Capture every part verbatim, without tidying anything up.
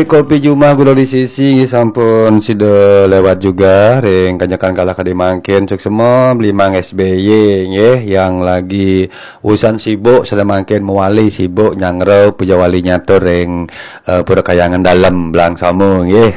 Kopi Jumah Gula di Sisi sampun sida lewat juga ring kanjekan kala kadi mangkin. Suksma Beli Mang S B Y nggih, yang lagi usan sibuk, sada mangkin mawali sibuk nyanggra puja wali nyatur ring eh, Pura Kayangan Dalem Belangsama nggih.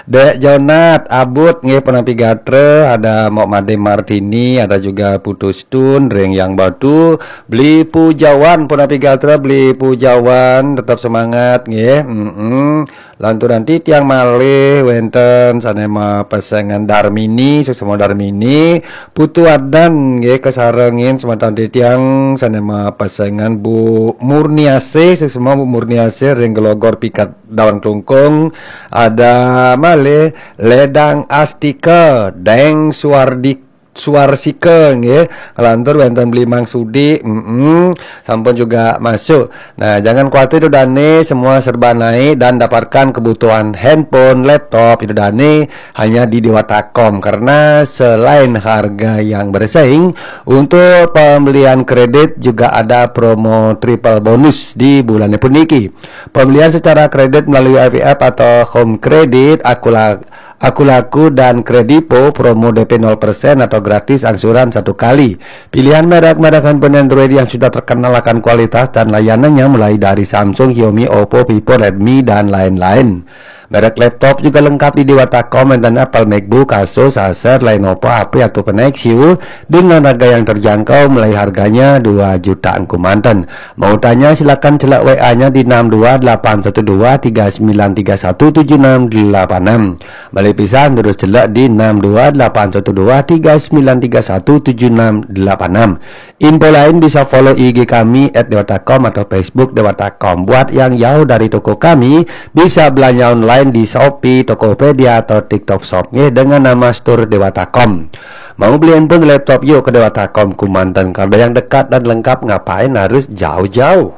Dek Jonat, Abut nggih, Punapi Gatra, ada Mok Made Martini, ada juga Putu Stun ring Yang Batu, Beli Pujawan, Punapi Gatra, Beli Pujawan, tetap semangat nggih. Mm-mm. Lanturan titiang malih wenten sane mapesengan Darmini, Suksma Darmini, Putu Adan nggih, kasarengin semeton titiang sane mapesengan Bu Murniasih, Suksma Bu Murniasih ring Gelogor Pikat Dawan Klungkung, ada malih Ledang Astika, Deng Suardi Suarsika nggih, nglantur wenten Beli Mang Sudi, mm sampun juga masuk. Nah, jangan khawatir, Ida dane, semua serba naik dan dapatkan kebutuhan handphone, laptop, Ida dane hanya di Dewata Com, karena selain harga yang bersaing, untuk pembelian kredit juga ada promo triple bonus di bulan puniki. Pembelian secara kredit melalui I V F atau Home Credit, Akula Akulaku dan Kredivo, promo D P nol persen atau gratis angsuran satu kali. Pilihan merek-merek handphone Android yang sudah terkenal akan kualitas dan layanannya, mulai dari Samsung, Xiaomi, Oppo, Vivo, Redmi, dan lain-lain. Merek laptop juga lengkap di Dewata Com, wenten Apple, MacBook, Asus, Acer, Lenovo, H P, atau Nexus dengan harga yang terjangkau, mulai harganya dua jutaan kemanten. Mau tanya, silakan celak W A-nya di enam dua delapan satu dua tiga sembilan tiga satu tujuh enam delapan enam. Balik pisan, terus celak di enam dua delapan satu dua tiga sembilan tiga satu tujuh enam delapan enam. Info lain bisa follow I G kami at dewata com atau Facebook Dewata Com. Buat yang jauh dari toko kami, bisa belanja online di Shopee, Tokopedia, atau TikTok Shop nggih, dengan nama Store Dewata Com. Mau beli handphone, laptop, yuk ke Dewata Com kemanten. Kalau yang dekat dan lengkap, ngapain harus jauh-jauh?